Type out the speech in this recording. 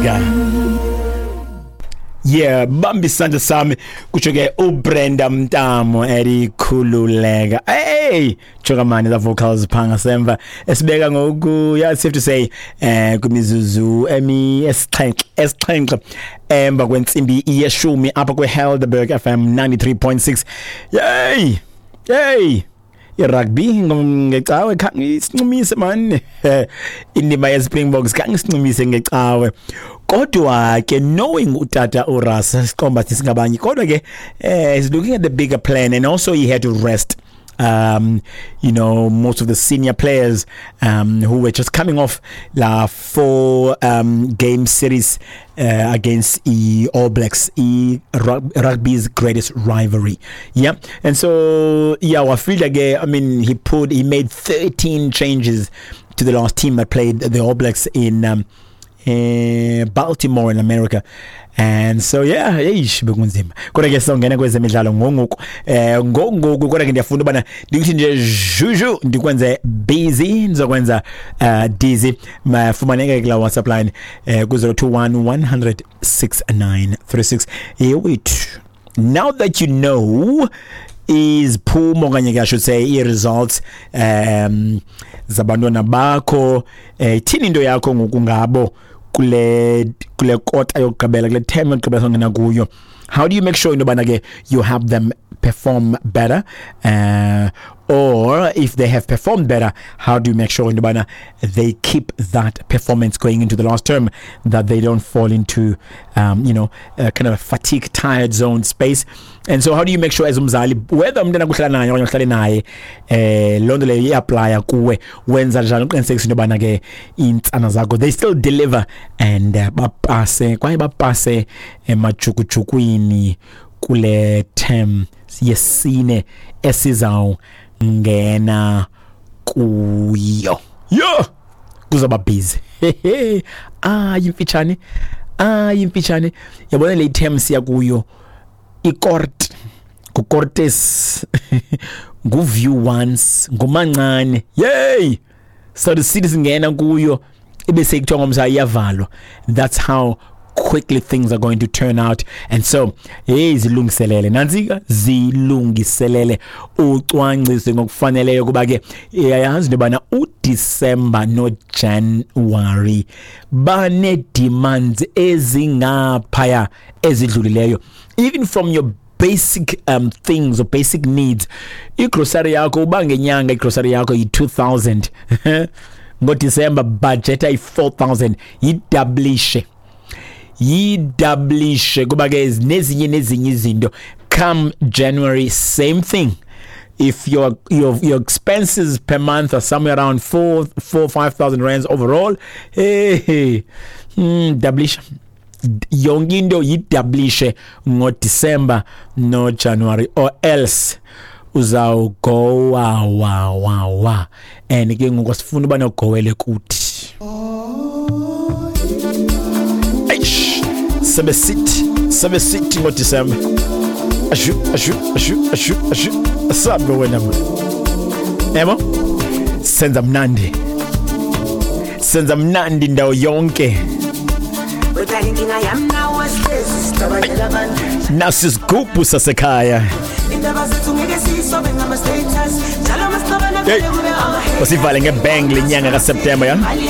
Khululeka. Yeah, bamba isandla sami, kutsho ke uBrenda Mtamo elikhululeka. Hey, joka mani the vocals pha ngasemva esibeka ngoku, yeah, safe to say kwimizuzu emi 7 emva kwentsimbi yeshumi apha kweHelderberg FM 93.6. Yey! Yey! Irugby ngecawe khange isincumise man, indima yeSpringboks khange isincumise ngecawe, kodwa ke knowing utata uRas siqomba singabanye, kodwa ke he's looking at the bigger plan and also he had to rest most of the senior players who were just coming off la four game series against the All Blacks, e rugby's greatest rivalry. Yeah, and so yeah, wafila ke, I mean, he made 13 changes to the last team that played the All Blacks in Baltimore in America. And so yeah, eish, bekunzima. Kodwa ke sizongena kwezemidlalo ngongoku. Ngongoku, kodwa ke ndiyafuna ubana ndikuthi nje juju ndikwenze busy, ndizokwenza dizzy. Mafumaneke kula WhatsApp line ku 021 100 6936. Yewethu. Now that you know iziphumo okanye ke I should say i-results zabantwana bakho, ithini into yakho ngoku ngabo kule kota yokugqibela, kule term yokugqibela songena kuyo? How do you make sure into yobana ke you have them perform better, or if they have performed better, how do you make sure into yobana they keep that performance going into the last term, that they don't fall into kind of a fatigue, tired zone space? And so how do you make sure as umzali, whether umntana kuhlala naye okanye uhlale naye, loo nto leyo i-applya kuwe, wenza njani uqinisekisa into yobana ke iintsana zakho they still deliver and bapase kwaye bapase emajukujukwini kule term yesine esizawungena kuyo? Yo, kuzawuba busy. Ayimfitshane, ayimfitshane, yabona le term siya kuyo, ikort ngucortes, nguview once, ngumancane. Yey, so the city singena kuyo ibe sekuthiwa ngomsa iyavalwa. That's how quickly things are going to turn out. And so hey, zilungiselele nantsika, zilungiselele, ucwangcise ngokufaneleyo, kuba ke iyayazi into yobana uDisemba noJanuary bane-demands ezingaphaya ezidlulileyo, even from your basic things or basic needs. Igrocery yakho, uba ngenyanga igrocery yakho yi-2000, ngoDisemba budgeta yi-4000, yidoublishe, yidoublishe, kuba ke nezinye nezinye izinto. Come January, same thing. If your expenses per month are somewhere around 4 5000 rands overall, hey, doublisha yonke into, yidoublishe ngoDecember noJanuary, or else uzawugowa wa wa wa, and ke ngoku sifuna uba nogowele kuthi. Eish, sebesithi sebesithi ngoDecember, ashu ashu ashu ashu ashu, asabe wena man. Yabo, senza mnandi, senza mnandi indawo yonke. Udala inkinga yami nawe, sihlezi sicabangela abantu. Nasi isigubhu sasekhaya. Indaba zethu ngeke siyisobe ngama-status njalo masixabana. Hey. Vele kube ama Usivale ngebang lenyanga kaSeptember, ya. Mali.